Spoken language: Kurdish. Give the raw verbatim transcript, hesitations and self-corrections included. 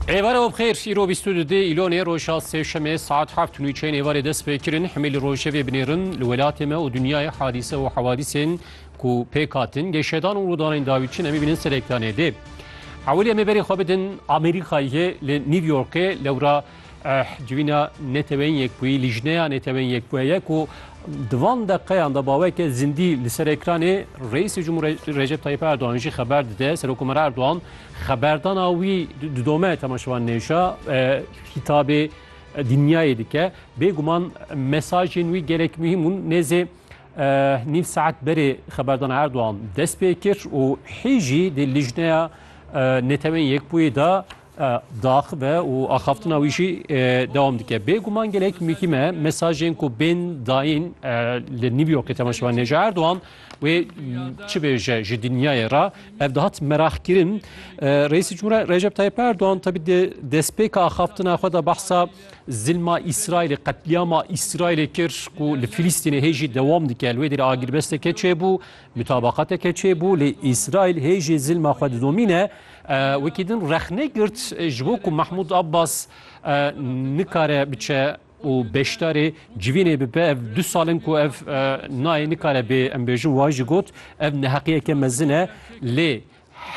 Êvara we bi xêr, îro bîst û du dê Îlonê, roja sêşemê, saet heft û nîvçeyên êvarê dest pê kirin. Hemî li rojevê binêrin, li welatê me û dinyayê hadîse û hewadîsên ku pêk hatin, geşedan û rûdanên dawî çi ne, em ê bînin ser ekranê dê. Ewilî em ê berê xwe bidin Amerîkayê, li New Yorkê, lewra, eh, civîna Neteweyên Yekbûyî, Lijneya Neteweyên Yekbûyî ye ku di van deqeyan de baweke zindî li ser ekranê Reîsê Cumhur Re-, Recep Tayyip Erdogan jî xeber dide. Serokkomer Erdogan xeberdana wî di-, didome temaşevanên hêja, e, hîtabê, e, dinyayê dike. Bêguman mesajên wî gelek muhîm bûn. Nêzê, e, nîv saet berê xeberdana Erdogan dest pê kir û hê jî di Lijneya, e, Netewên Yekbûyî de, e, diaxive û axaftina wî jî, e, dewam dike. Bêguman gelek muhîm e mesajên ku bên dayîn, e, li New Yorkê temaşevanên hêja Erdogan wê, m, çi bêje ji dinyayê re. Ev dihat meraq kirin. E, Reîsê Cumhur Recep Tayyip Erdogan tabi di destpêka axaftina xwe de behsa zilma Îsraîlê, qetlîama Îsraîlê kir ku li Filistînê hê jî dewam dike. Li wê derê agirbesteke çêbû, mutabaqateke çêbû, lê Îsraîl hê jî zilma xwe didomîne. E, wekî din rexne girt, e, ji bo ku Mahmûd Abbas, e, nikare biçe û beşdarê civînê bibe. Ev du sal in ku ev, e, nayê, nikare bê, em bêjin, wa jî got, ev neheqiyeke mezin e. Lê